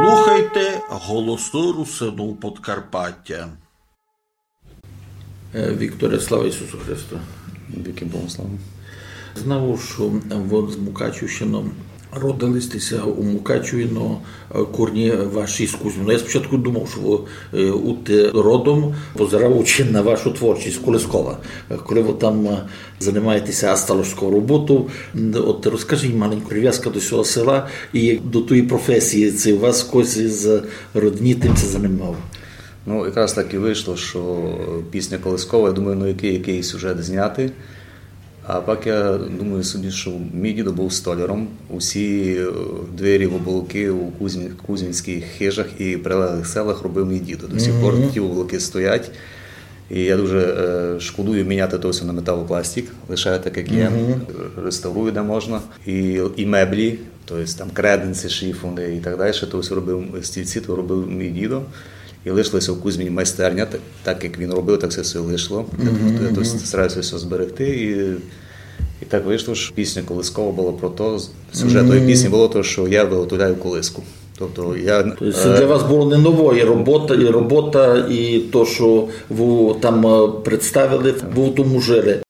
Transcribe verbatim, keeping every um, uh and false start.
Слухайте Голосы Русинув Подкарпатя. Е, Вікторе, слава Ісусу Христу! Вікы Богу слава. Знав, што вы з Мукачівщины, родили сьте ся у Мукачеві, но, е, корні ваші з Кузьмина. Я спочатку думав, што вы, е, удте родом, позираючи на вашу творчість, колискова. Е, коли вы там, е, занимаєте ся асталошською роботою, м, от розкажіть маленьку привязку до сього села і до тої професії, ци у вас хтось із родні тым ся занимав? Ну, якраз так і вышло, што пісня колискова, я думаю, ну, якый, якый сюжет зняти. А пак я думаю собі, што мій дідо быв столяром. Усі, е, двері в оболокы у кузьмі-, кузьмінськых хижах і прилеглых селах робив мій дідо. До сих пор ті оболокы стоять. І я дуже, е, шкодую міняти то всьо на металопластик, лишаю так, як є, реставрую, де можна. І, і меблі, то єсть там креденці, шифони і так далі, то всьо робив, стільці, то робив мій дідо. І лишилося в кузьмі майстерня, так, так як він робив, так всьо, всьо лишило. Я, я то стараюся всьо зберегти. І, і так вышло, што пісня колискова была про то, сюжет тої пісні было то, што я виготовляю колиску. Тобто я, То есть е, для вас было не ново, і робота, і робота, і то, што вы там, е, представили, вы в тому жили.